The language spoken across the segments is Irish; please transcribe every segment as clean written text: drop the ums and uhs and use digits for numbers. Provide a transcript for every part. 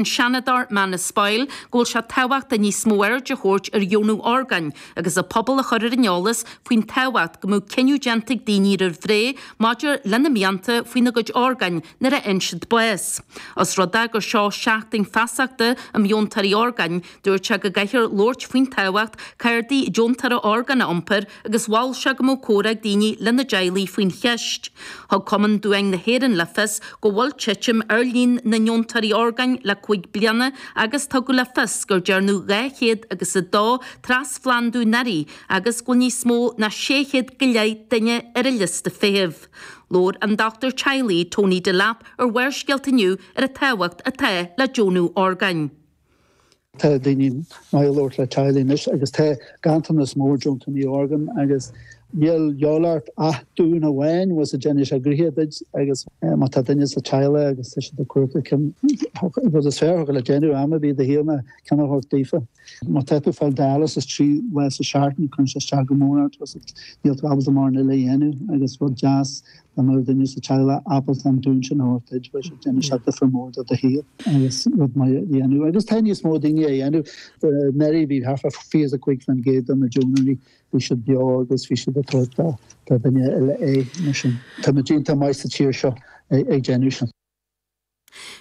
An Seanadóir Manus Boyle go bhfuil sé tábhachtach níos mó aird a thabhairt ar dheonú orgáin agus an pobal a chur ar an eolas faoin tábhacht go mbeadh cinneadh déanta ag daoine roimh ré maidir lena mianta faoina gcuid orgáin nuair a fhaigheann siad bás. Os rud é gur seo seachtain feasachta um dheontóirí orgáin, dúirt sé go gcaithfear labhairt faoin tábhacht cártaí deontóra orgán a iompar agus mhol sé go mbeadh comhrá ag daoine lena dteaghlaigh faoin cheist. Thug Cumann Duáin na hÉireann le fios go bhfuil titim ar líon na ndeontóirí orgáin le 5 bliana agus tugadh le fios gur dearnadh 200 agus 2 trasphlandú anuraidh agus go bhfuil níos mó ná 600 go leith duine ar an liosta feithimh. Labhair an dochtúir teaghlaigh Tony Delap ar Bharrscéalta inniu ar an tábhacht atá le deonú orgáin. Tá daoine maith ag labhairt le teaghlaigh anois agus tá ganntanas mór deontóirí orgán agus níl de dhíobháil ort ach dún amháin bhfuil sé déanfaidh sé gnoithe duit agus má tá duine sa teaghlach agus tá siad ag cuartú cén rud is fearr a thiocfadh le déanamh am ar bith i do shaol ná ceann a thabhairt daofa. Má tá tú ag fáil dialysis 3 lá sa seachtain cuireann sé isteach go mór ort níl tú ábalta mórán eile a dhéanamh agus rud deas Dá mbeadh duine sa teaghlach ábalta an dún sin a thabhairt duit, bheadh sé, déanfaidh sé difear mór do do shaol agus rud maith a dhéanamh. Agus tá níos mó daoine á dhéanamh. Anuraidh bhí thart fá 25% de na deonóirí, bhí siad beo agus bhí siad ag tabhairt do dhuine eile é. Mar sin, tá muid iontach maith sa tír seo ag déanamh sin.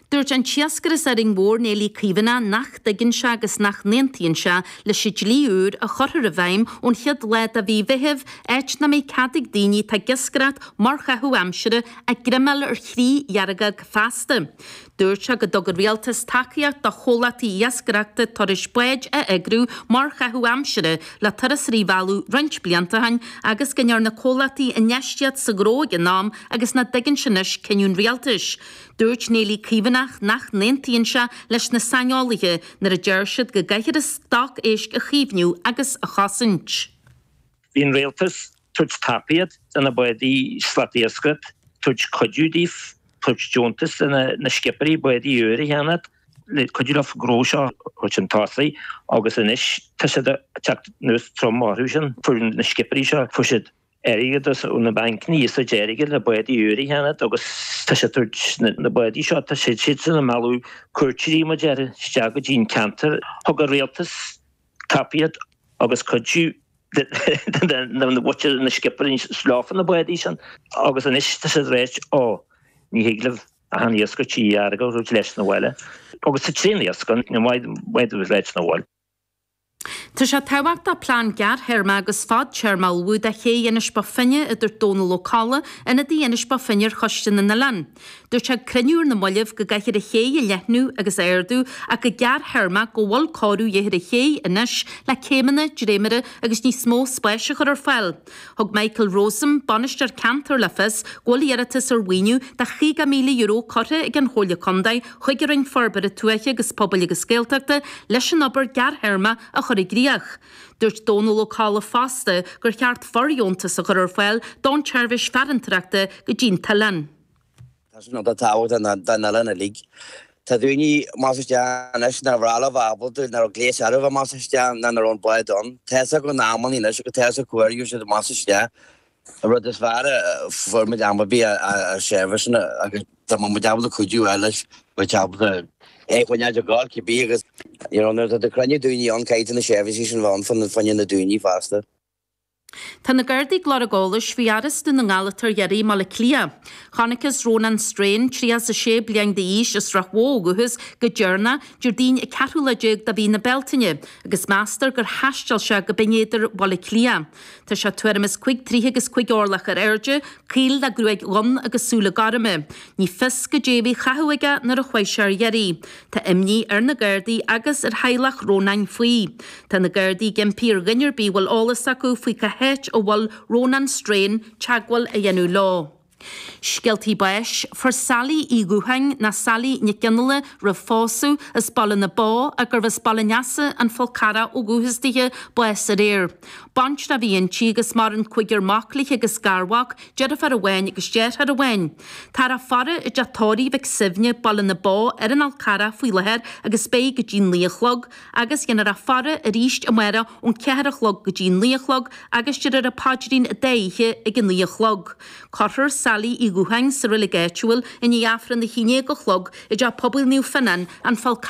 Dúirt an t-iascaire as Árainn Mhór, Néillí Caomhánach, nach dtuigeann sé agus nach n-aontaíonn sé leis an dlí úr a chuirfear i bhfeidhm ón chéad lá de mhí Mheithimh, áit nach mbeidh cead ag daoine atá ag iascaireacht mar chaitheamh aimsire a greamáil ar thrí dheargóg feasta. Dúirt sé go dtug an Rialtas tacaíocht do chomhlachtaí iascaireachta turais báid a eagrú mar chaitheamh aimsire le turasóirí a mhealladh roinnt blianta ó shin agus go ndearna comhlachtaí infheistíocht sa ghnó ag an am agus nach dtuigeann sé anois cinneadh an Rialtais. Dúirt Néillí Caomhánach nach n-aontaíonn sé leis na saineolaithe nuair a deir siad go gcaithfear an stoc éisc a chaomhnú agus a chosaint. Bhí an rialtas tabhairt tacaíocht do na bádaí slatiascaireacht, tabhairt cuidiú daofa, tabhairt deontas do na scipéirí bádaí úr a cheannacht le cuidiú leo gnó seo a thabhairt chun tosaigh agus anois tá siad ag teacht anuas trom orthu sin. Fuair na scipéirí seo, fuair siad airgeadas ó na bancanna iasacht airgid le bádaí úr a cheannacht agus tá siad ag tabhairt na bádaí seo, tá siad siadsan ag mealladh cuairteoirí mar a déarfá isteach go dtí an ceantar. Thug an rialtas tacaíocht agus cuidiú do na mhuintir na scipéirí leofa na bádaí sin agus anois tá siad ag ráit ó ní thig libh achan iascach trí dheargóg a thabhairt leis na bhaile agus tá tréan iasc ann, ní maith dóibh leis na bhaile. Tá sé tábhachtach plean gearrthéarma agus fadtéarma a ullmhú do ché Inis Bó Finne, a dúirt Dónal Ó Colla, ionadaí Inis Bó Finne ar Choiste na nOileán. Dúirt sé ag cruinniú ar na mallaibh go gcaithfear an ché a leathnú agus a ardú ach go gearrthéarmach go bhfuil cóiriú de dhíth ar an ché anois le céimeanna, dréimire agus níos mó spáis a chur ar fáil. Thug Michael Rowsome, Bainisteoir Ceantair le fios go bhfuil iarratas ar mhaoiniú de €50,000 curtha ag an Chomhairle Contae chuig an Roinn Forbartha Tuaithe agus Pobail agus Gaeltachta leis an obair gearrthéarma a chur i gcríoch. Dúirt Dónal Ó Colla fosta gur cheart fordheontas a chur ar fáil don tseirbhís farantóireachta go dtí'n t-oileán. Tá sin iontach tábhachtach don oileán uilig. Tá daoine amach is isteach anois nár bhreá leo bheith ábalta, nach raibh gléas orthu bheith amach is isteach ná nach raibh an bád ann. Tá fhios acu na amannaí anois agus tá fhios acu cá huair a gheobhaidh siad amach is isteach. An rud is fearr a fuair muid am ar bith a seirbhíseanna agus dá mbeadh muid ábalta cuidiú a fháil leis, bheadh ábalta é a choinneáil ag gabháil cibé agus you know nuair atá tú ag cruinniú daoine ann caithfidh tú na seirbhísí sin bheith ann fá choinne na daoine fosta. Tá na Gardaí ag lorg eolais faoi fhear as Dún na nGall atá ar iarraidh i mBaile Átha Cliath. Chonacthas Rónán Strain, 36 bliain d'aois, as Ráth Bhoth ó dhúchas, go deireanach Déardaoin an ceathrú lá déag de mhí na Bealtaine agus meastar gur thaisteal sé go Binn Éadair Bhaile Átha Cliath. Tá sé tuairim is 5 troigh agus 5 orlach ar airde, caol le gruaig dhonn agus súile gorma. Ní fios goidé a bhí á chaitheamh aige nuair a chuaigh sé ar iarraidh. Tá imní ar na Gardaí agus ar theaghlach Rónáin faoi. Tá na Gardaí ag impí ar dhuine ar bith a bhfuil eolas acu faoi cá háit a bhfuil Rónán Strain teagmháil a dhéanamh leo. Scéaltaí báis, Fuair Sally Uí Dhútháin, nó Sally Nic Fhionnghaile roimh phósadh, as Baile na Bó, ach gurbh as Baile an Easa, An Fál Carrach ó dhúchas dithe, bás aréir. Baintreach a bhí inti agus maireann cúigear mac léi agus garmhac, deirfiúr amháin agus deartháir amháin. Táthar á faire i dteach tórraimh Mhic Suibhne, Baile na Bó, ar an Fhál Carrach faoi láthair agus beidh go dtí an 9 a chlog agus dhéanfar a faire arís amárach ón 4 a chlog go dtí an 9 a chlog agus déarfar an paidrín an dá oíche ag a 9 a chlog. Cuirfear. Sally Uí Dhútháin sa reilig áitiúil i ndiaidh Aifreann a 11 a chlog i dTeach Pobail Naomh Fionnán, An Fál Carrach.